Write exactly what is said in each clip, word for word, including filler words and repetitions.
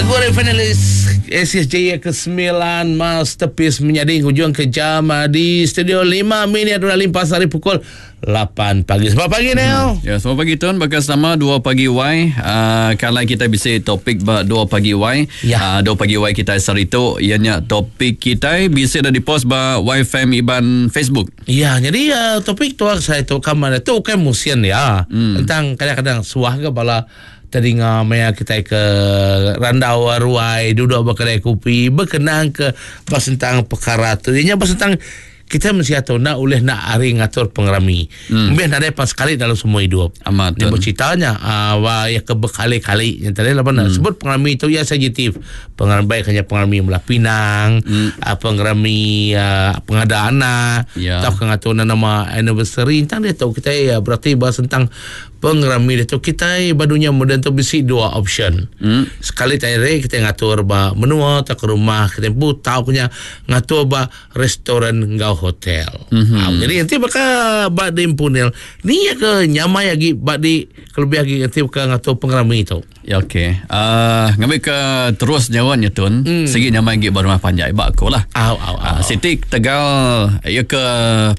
Lagu dari finalis A C S J ke sembilan, Masterpiece, menjadi hujung ke jam ah, di studio lima minit sudah limpas hari pukul lapan pagi. Selamat pagi, Neil. Ya, selamat pagi tuan. Bakal sama dua pagi Y. Uh, kalau kita bisa topik ba dua pagi Y. Ya. Uh, dua pagi Y kita hari itu ianya topik kita bisa dah dipost ba Y F M Iban Facebook. Ya, jadi uh, topik tu saya tu kamar tu bukan musim ya. Hmm. Tentang kadang-kadang suah ke bala teringa maya kita ke randau ruai duduk berkedai kopi berkenang ke bas tentang perkara tu. Ianya bas tentang kita mesti atau nak oleh nak hari ngatur pengerami. Hmm. Mungkin ada pas sekali dalam semua hidup. Amat. Dia berceritanya uh, wah, ya ke berkali-kali yang tadi lah hmm. sebut pengerami itu ya sensitif. Pengerami baik hanya pengerami belah pinang, hmm. uh, pengerami uh, pengadaan anak, Ya. atau ngatur nama anniversary tentang dia tahu kita ya berarti bahas tentang pengerami dia tu kita badunya moden tu bisi dua option. Hmm. Sekali tadi kita ngatur ba menua atau ke rumah kita pun tahu punya ngatur ba restoran ngau hotel. Mm-hmm. Ha, jadi nanti bakal ba di impunil ni ya ke nyamai lagi ba di kelebih lagi nanti bakal ngatur pengerami itu. Ya, okey. Uh, ngambil ke terus jawabnya tun. Hmm. Segi nyamai lagi rumah panjai bak aku lah. Au au au. Uh, Siti Tegal ya ke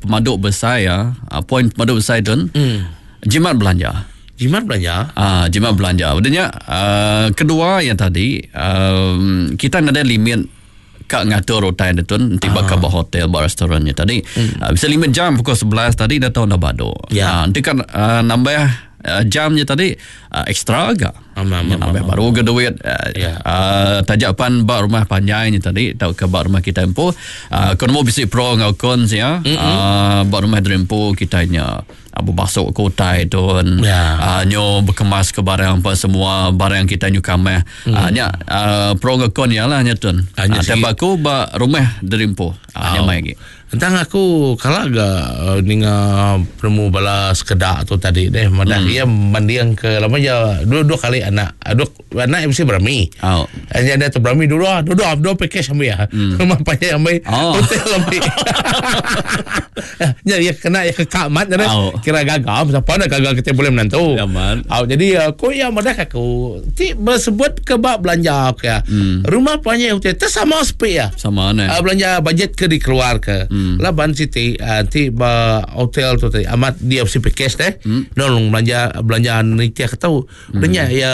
pemaduk besar ya. Uh, poin pemaduk besar tun. Hmm. Jimat belanja. Jimat belanja. Ah, jimat belanja. Maksudnya uh, kedua yang tadi um, kita ada limit kak ngatur utai dia tun nanti bakal buat hotel, buat restorannya tadi. Hmm. Uh, bisa limit jam pukul sebelas tadi dah tahu dah bado. Ya. Ah, nanti kan uh, nambah uh, jamnya tadi uh, ekstra agak. Am, am, Ya, am, nambah am, baru ke duit uh, Ya. uh, tajapan bak rumah panjangnya tadi atau ke bak rumah kita empu uh, kon mau bisi pro ngau cons ya mm-hmm. uh, bak rumah dreampu kita nya abu basuk ke utai tu Ya. uh, nyo berkemas ke barang apa semua barang kita nyu kameh mm. uh, nya uh, pro ngau con ya lah nya tun. Ah, nya uh, sikit. tembak aku bak rumah dreampu uh, nya mai lagi. Tentang aku kalau agak uh, ninga penemu bala sekedak tu tadi deh madah hmm. ia mandiang ke lama je dua dua kali anak dua anak M C berami. Oh. Hanya ada tu berami dua dua dua dua package ambil ya. Hmm. Rumah panjang ambil, Oh. hotel ambil. Ya, ya kena ya ke mat jadi Oh. kira gagal siapa nak gagal kita boleh menantu. Ya, man. Oh, jadi aku ya madah aku ti bersebut ke bab belanja ke. Hmm. Rumah panjang hotel tu sama sepi ya. Sama ne. Uh, belanja bajet ke dikeluar ke. Hmm. Laban Siti uh, ti ba hotel tu tadi amat dia si package deh. Hmm. Nolong belanja belanja ni tiap tahu. Hmm. Denya ya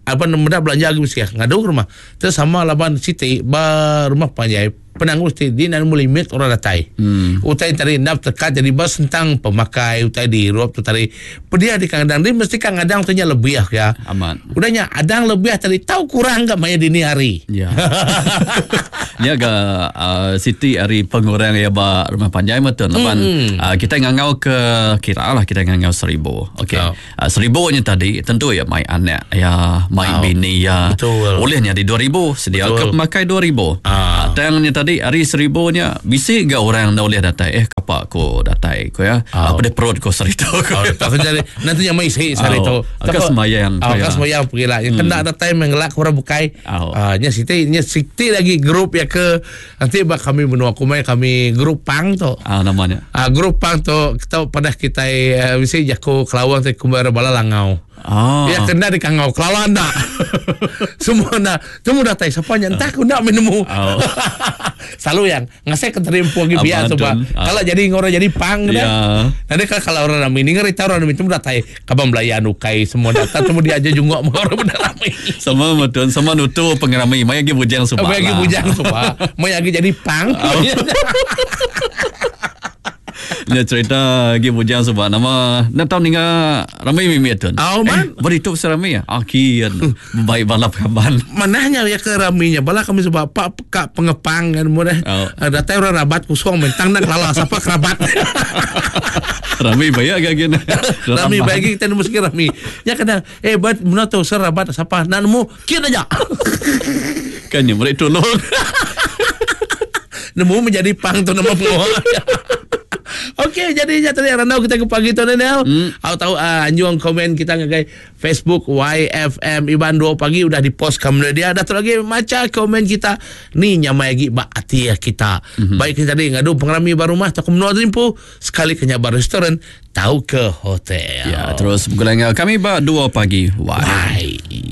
apa nama belanja lagi mesti ngadu ke rumah. Terus sama laban Siti ba rumah panjai penanggung Siti dia nak limit orang datai. Hmm. Utai tadi nak tekat jadi bas tentang pemakai utai di ruap tu tadi. Pedia di kandang dia mesti kadang tu nya lebih ya. Amat. Udahnya adang lebih tadi tahu kurang enggak maya dini hari. Ya. Ni agak uh, Siti hari pengurang ya ba rumah panjai betul. Lapan mm. uh, kita ngangau ke kira lah kita ngangau seribu. Okey. Oh. Uh, seribu nya tadi tentu ya mai anak ya, mai Oh. bini ya. Betul. Olehnya di dua ribu sedia Betul. ke pemakai dua ribu. Ah. Uh, tangnya tadi hari seribu nya bisi ga orang dah boleh datai eh kapak ko datai ko ya. Oh. Apa dia perut ko serito ko. Oh, tak jadi nanti yang mai sih sari Oh, tu. agak sembahyang Oh, tu, ya. agak sembahyang pergi lah. Yang kena ada time yang gelak orang bukai. Oh. Ah, nya Siti, nya Siti lagi grup ya ke nanti bak kami menua kumai kami grup pang tu. Ah, namanya. Ah, grup pang tu kita pada kita uh, mesti jago kelawang tu kumbar bala langau. Ah. Ya kena di kangau kelawang nak. Semua nak. Semua datang siapa nya entah aku nak menemu. Oh. Selalu yang ngasih keterimpu lagi biar Abang tu Tun. pak. Ah. Kalau jadi orang jadi pang dah. Ya. Nanti kalau, kalau orang ramai ni ngeri tahu orang ramai itu datai kabang belayan ukai semua datang semua dia aja jungok orang benar ramai. Sama betul sama nutu pengerami mai lagi bujang subak. Apa lagi lah. bujang subak. Mau lagi jadi pang. Dia cerita lagi bujang sebab nama nak tahu ninga ramai mimi tu. Oh, man. Eh, beritu pasal ramai ya. Ah, kian. Baik balap kaban. Manahnya ya ke raminya bala kami sebab pak kak pengepang kan mudah. Oh. Oh. Datai orang rabat kusong mentang nak lala siapa kerabat. Ramai baik agak gini. Rami bagi kita nemu sikit rami. Ya kena eh buat mana tu serabat siapa nak nemu kian aja. Kan ya mereka tolong. Nemu menjadi pang tu nama penguang. Okey, jadi tadi randau kita ke pagi tu Nel. Hmm. Aku tahu uh, anjung komen kita ngagai Facebook Y F M Iban dua pagi udah di post kamu dia. Dah tu lagi baca komen kita. Ni nyamai lagi bak hati ya kita. Mm-hmm. Baik kita tadi ngadu pengerami baru rumah atau ke menua rimpu sekali ke nyabar restoran tahu ke hotel. Ya, terus bergulai kami ba dua pagi. Why? Bye.